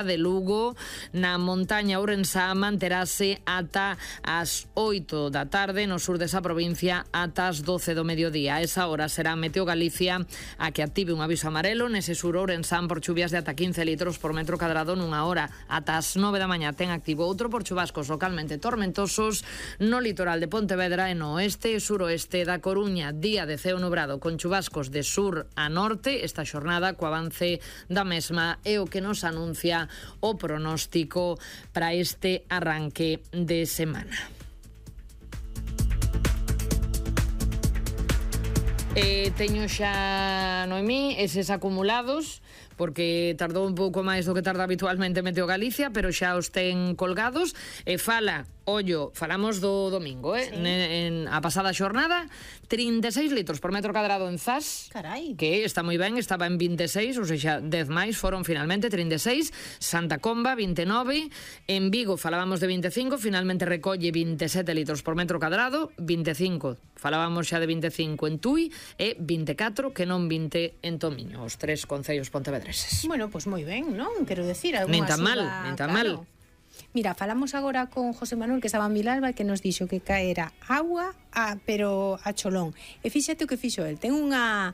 de Lugo. Na montaña ourensá manterase ata as 8 da tarde, no sur desa provincia ata as 12 do mediodía. A esa hora será Meteo Galicia a que active un aviso amarelo nese sur ourensán por chuvias de ata 15 litros por metro cadrado nunha hora. Ata as 9 da mañá ten activo outro por chubascos localmente tormentosos no litoral de Pontevedra e no oeste e suroeste da Coruña. Día de ceo nubrado con chubascos de sur a norte esta xornada co avance da mesma e o que nos anuncia o pronóstico para este arranque de semana. Teño xa, Noemí, eses acumulados porque tardou un pouco máis do que tarda habitualmente Meteo Galicia, pero xa os ten colgados e falamos do domingo, sí. A pasada xornada 36 litros por metro cadrado en Zas. Carai. Que está moi ben, estaba en 26, ou seja, 10 máis, foron finalmente 36. Santa Comba 29, en Vigo falábamos de 25, finalmente recolle 27 litros por metro cadrado, 25, falábamos xa de 25 en Tui e 24 que non 20 en Tomiño, os tres concellos pontevedreses. Bueno, pois moi ben, non? Quero decir, nin tan mal. Mira, falamos agora con José Manuel, que estaba en Vilalba, que nos dixo que caera agua, pero a cholón. E fíxate o que fixo el. Ten unha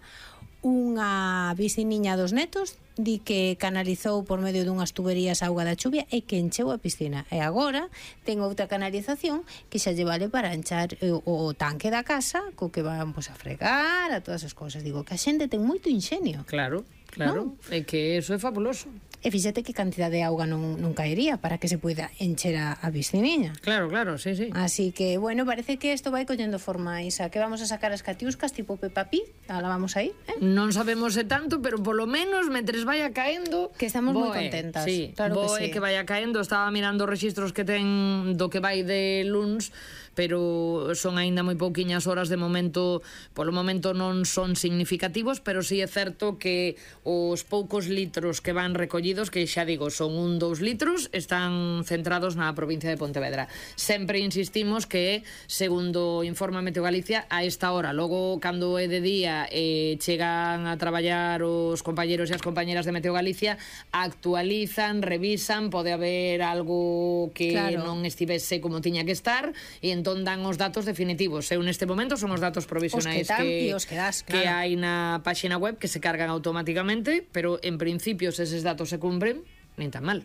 veciniña dos netos, di que canalizou por medio dunhas tuberías a auga da chuvia e que encheu a piscina. E agora ten outra canalización que xa lle vale para enchar o tanque da casa, co que van a fregar, a todas as cousas. Digo, que a xente ten moito inxenio. Claro, ¿no? É que eso é fabuloso. E fíxate que cantidad de auga non caería para que se poida encher a pisciniña. Claro, sí. Así que, bueno, parece que isto vai collendo forma, Isa, que vamos a sacar as catiuscas tipo Peppa Pig, la vamos a ir, Non sabemos tanto, pero polo menos, mentres vaya caendo, que estamos moi contentas. Sí, claro que sí. Que vaya caendo, estaba mirando os rexistros que ten do que vai de luns, pero son aínda moi pouquiñas horas de momento, polo momento non son significativos, pero sí é certo que os poucos litros que van recollidos, que xa digo, son 2 litros, están centrados na provincia de Pontevedra. Sempre insistimos que, segundo informa Meteo Galicia, a esta hora, logo cando é de día chegan a traballar os compañeros e as compañeras de Meteo Galicia, actualizan, revisan, pode haber algo que non estivese como tiña que estar, e entón dan os datos definitivos. Eu neste momento son os datos provisionais que hai na páxina web, que se cargan automáticamente, pero en principio se eses datos se cumpren, nin tan mal.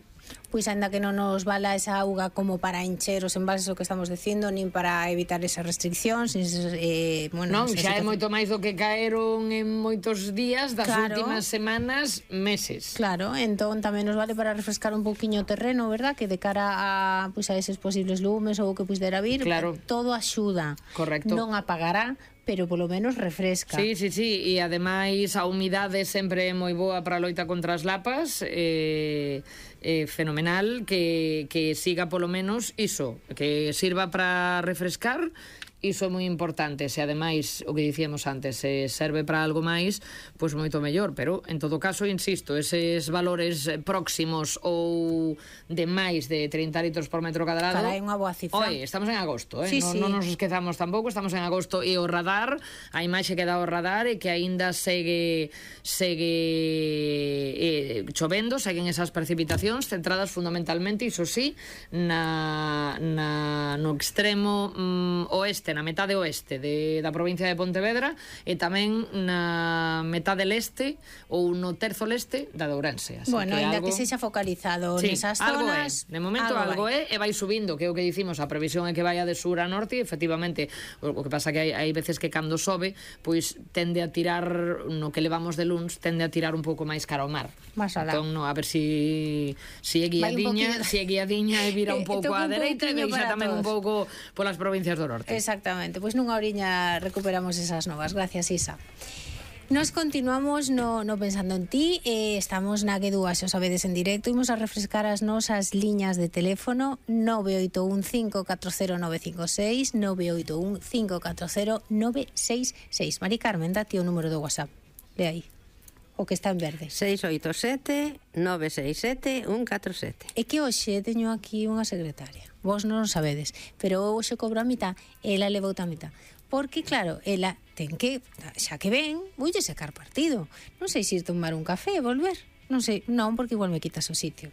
Pois ainda que non nos vala esa auga como para encher os envases, o que estamos dicindo, nin para evitar esas restriccións, non, xa é moito máis do que caeron en moitos días das últimas semanas, meses. Claro, entón tamén nos vale para refrescar un pouquiño o terreno, verdad? Que de cara a eses posibles lumes ou o que puidera vir, todo axuda. Correcto. Non apagará, pero polo menos refresca. Sí, e ademais a humidade sempre é moi boa para a loita contra as lapas, fenomenal, que siga polo menos iso, que sirva para refrescar. Iso é moi importante, se ademais, o que dicíamos antes, se serve para algo máis, pois moito mellor, pero en todo caso, insisto, eses valores próximos ou de máis de 30 litros por metro cadrado, carai, unha boa cifra. Estamos en agosto, sí. Non nos esquezamos tampouco, estamos en agosto, e o radar, a imaxe que dá o radar é que aínda segue chovendo, seguen esas precipitacións centradas fundamentalmente, iso sí, no extremo oeste, na metade oeste da provincia de Pontevedra, e tamén na metade leste ou no terzo leste da de Ourense. Bueno, ainda que sexa focalizado nesas zonas, de momento algo é, e vai subindo, que é o que dicimos, a previsión é que vaya de sur a norte, e efectivamente, o que pasa que hai veces que cando sobe, pois tende a tirar, no que levamos de luns, tende a tirar un pouco máis cara ao mar. Entón, a ver se é guiadiña, e vira un pouco á dereita, e deixa tamén un pouco polas provincias do norte. Exactamente, pois nunha oriña recuperamos esas novas. Gracias, Isa. Nos continuamos no Pensando en Ti, estamos na G2, xa o sabedes, en directo. Imos a refrescar as nosas liñas de teléfono 981-540-956, 981-540-966. Mari Carmen, date o número do WhatsApp, le aí, o que está en verde. 687-967-147. É que hoxe teño aquí unha secretaria, vos non o sabedes, pero hoxe cobro a mitad, ela levou a mitad, porque claro, ela ten que, xa que ven, voulle sacar partido, non sei se ir tomar un café e volver, non sei, non, porque igual me quitas o sitio.